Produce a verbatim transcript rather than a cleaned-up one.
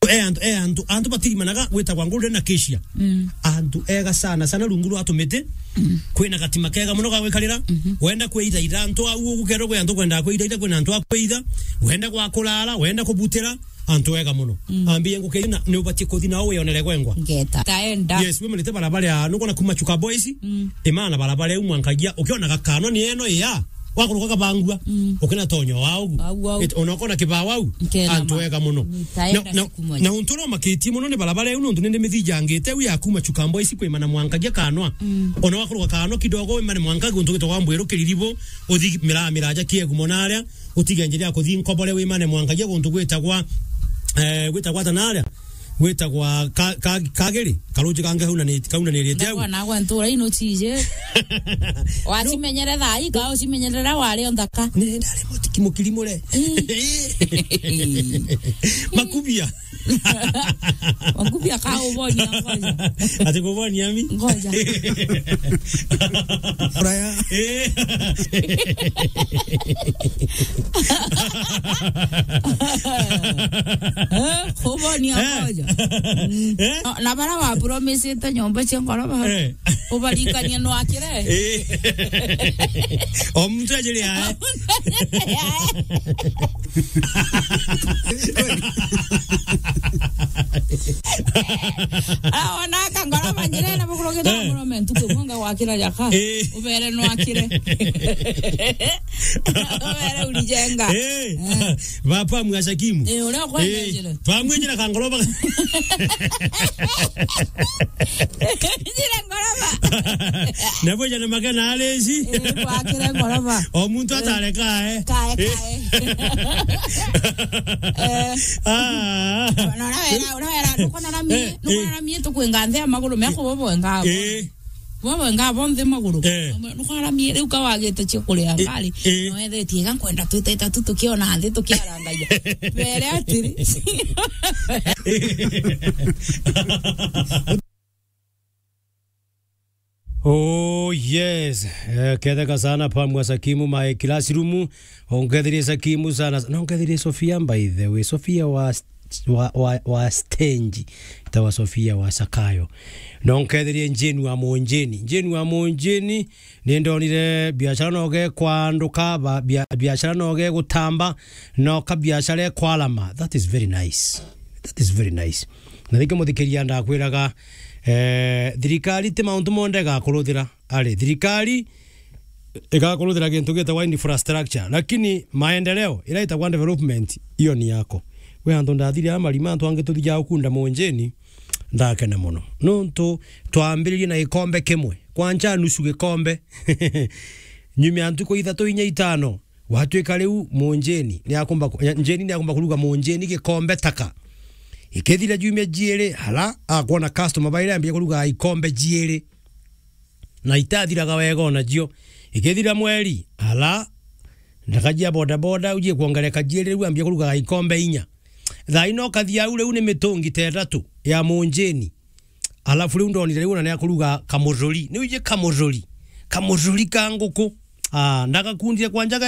E antu, e antu, antu batirimanaga gwitagwa Golden Acacia. Mm. Antu ega sana sana rungu rwa tumiti. Mm. Kwina gatima kega muno ga gwikarira. Mhm. Wenda kwithaitha antu au ugu kethirwa kwi antu kwenda kwithaitha, kwina antu a kwitha. Wenda gwa kurara, wenda kubutira, antu ega muno. Mm. Ambie nguke na ni ubatie kuthi nao wionere gwengwa. Ngeta. Taenda. Yes, we murite barabara ya, nukona kuma Chuka Boys, mm, imana barabara iu mwankagia, ukiona gakanwa ni eno ya. Wakuruka kabangua, mm, ukina tonyo wa ugu. Au, au. Eti, ona ukona kibao au, nkena antu ma. Ega muno. Nitaenda na, na, siku moja. Na untu uria umakitie muno ni barabara iu, nontu nindi mithijangite iu ya kuma Chuka Boys kwimana mwankagia kanwa. Mm. Ona wakuruka kanwa kidogo, wimane mwankagia untu gwitagwa Mbwiru Kiriribu, uthi miraa miraja kiegu mono aria, utige njira ya kuthi Nkobore wimane mwankagia guntu gwitagwa, eh, gwitagwa ata naria? Gwitagwa ka-, ka-, Kagiri, karuji kangi kaunani-, kaunanirite au. Ndagwa nagwa ntura ino cije. Wacimenyere thaa ii, ka ucimenyere riria wari o nthaka. Ni ndari mutiki mukiri mure. Mm. Makubia. Makubia ka ubonia ngoja. Ati kubonia mi? Ngoja. Raya. Eh. Eh, kubonia, eh, ngoja. Mm. Eh? Na, na bara wa promisete nyomba cia ngoroba. Eh. Ubarikania nwakire. Eh. O muntu ajiri ae. Aona kangoroba njirene bukurugite, eh, murume ntuku imwe ngagwakira jaka. Eh. Ubere nwakire. Ubere urijenga. Eh. Eh. Baba mwacakimu. Eh, uria ukwenda, eh, njire. Twamwinjira kangoroba. Njire ngoroba. Nabwija na magana areci. Eh, gwakire ngoroba. O muntu, eh, atareka, eh. Kae, eh, kae. Eh. Ah. No, no, wera, no, wera, nukona na mie, eh, nukona, eh, na mie tukwinga nthi ya maguru mea kubo bwenga. Eh. Bo bwenga bo nthi maguru. Eh. Nukona na mie, riu ka wagite cia kuria, eh, ngari. Eh. No ethetie ga nkwenda twita itatu tukiona nthi tukiarangaia. Bere atiri. Oh, yes. Eh, ketheka sana pa mwa Sakimu my classroom. Ongetherie Sakimu sana. Na ongetherie Sofia, by the way. Sofia wa, wa, wa, wa stage. Tawa Sofia wa Sakayo. Na ongetherie Jane wa Monjeni. Jane wa Monjeni, ni ndonire biashara no gekwanduka, ba-, bia-, biashara no gegutamba, no ka biashara ekwalama. That is very nice. That is very nice. Na riki muthikiria ndakwiraga, eh, thirikari ti mauntu monthe igakuruthira. Ari, thirikari igakuruthira gintu gitagwa infrastructure, lakini maendeleo, ira itagwa development, iyo ni yako. We antu ndathire a marima, antu angi tuthijaa ukunda Monjeni, ndakena muno. Nontu twambiririe na gikombe kimwe, kwanja nusu gikombe. Nyuma ya ntuku ithatu, inya, itano, gwatuika riu Monjeni ni akumba ku-, Njeni ni akumba kuruga Monjeni gikombe taka. Ikithira jumia jiiri, hala akwona customer baire ambia kuruga ikombe jiiri. Na itathiraga wega o nacio. Ikithira mweri, hala ndaka jia boda boda ujie kuongereka jiiri, riu ambia kuruga ikombe inya. Thaa ino ukathia au riu ni mitungi ta itatu ya Monjeni. Alafu riu ndonire riu ona ni akuruga kamururi. Ni uje kamururi. Kamururi ka nguku. Ah, ndagakundire kwanja ga